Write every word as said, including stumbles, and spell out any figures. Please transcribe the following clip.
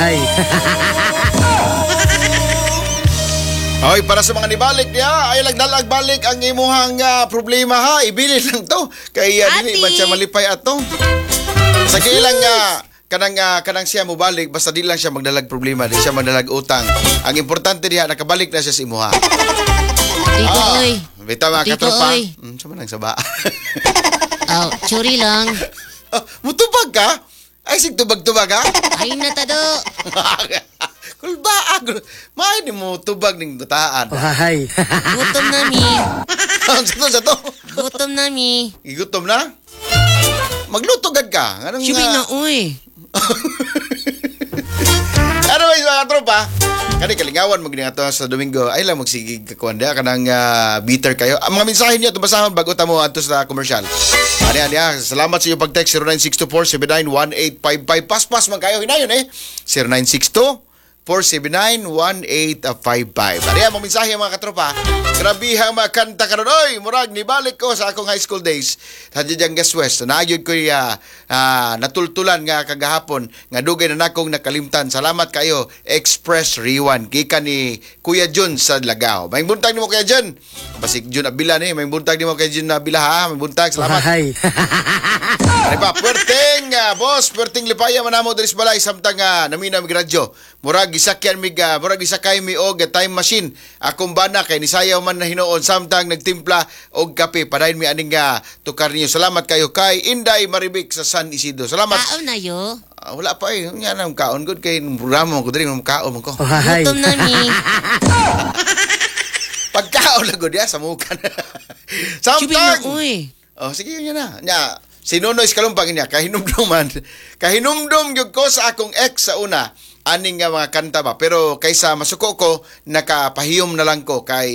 Ohay. Hoy, para sa mga nibalik niya, ay lang balik ang imuhang ah, problema ha. Ibilin lang to. Kay uh, dili man siya malipay ato. Sa lang nga kanang ah, kanang siya mobalik basta di lang siya magdalag problema, di siya magdalag utang. Ang importante diha nakabalik na siya sa imuha. Tito, oy. Bitaw mga Tito, katropa. oy. Mm, sa man ang saba. Oh, churi lang. Oh, mutubag ka? Ay sig tubag-tubag ha? Ay na tado. Kulba May ni mo tubag ning dutaan. Ohay. Gutom na mi. Sa to sa to. Gutom na mi. Gigutom na? Magluto gad ka. Anong Shubi ah, na, oy. Anyways mga tropa, kani kalingawan mo gini ato sa Domingo. Ay lang magsigig kakuan diha kanang ah, bitter kayo. Ang mga mensahe niyo basahon bago ta mo adto sa commercial. Ani ani ah, salamat sa iyo pag-text zero nine six two four seven nine one eight five five. Paspas man kayo hinayon eh. zero nine six two four seven nine, one eight five five. Ariya, mga mensahe mga katropa. Grabe ang mga kanta karon. Oy, murag nibalik ko sa akong high school days. Sa Gas West. Naayod ko uh, uh, natultulan nga kagahapon nga dugay na nakong nakalimtan. Salamat kayo, Express Rewind. Gikan ni Kuya Jun sa Lagao. May buntag nimo Kuya Jun. Basig Jun Abila ni. May buntag nimo kay Jun Abila ha. May buntag. Salamat. Ohay. Ano pa, puwerteng, ah, boss, puwerteng lipaya manamo diri sa balay samtang uh, namina mig radyo. Murag gisakyan mig, ah, murag gisakay mi og ah, time machine. Akong bana kay nisayaw man na hinuon samtang nagtimpla og kape. Padayon mi aning uh, tukar niyo. Salamat kayo kay Inday Maribik sa San Isidro. Salamat. Kaon na yo. Ah, wala pa eh. Nga na kaon gud kay programa ko diri kaon man ko. Ohay. Gutom na mi. Pagkaon lang gud ya sa mukan. Shubi na, Samtang oy. Oh, sige yun na. Nya, si Nonoy Kalumpang niya, kahinumduman. Kahinumdum gyud ko sa akong ex sa una aning nga mga kanta ba. Pero kaysa masuko ko, nakapahiyom na lang ko kay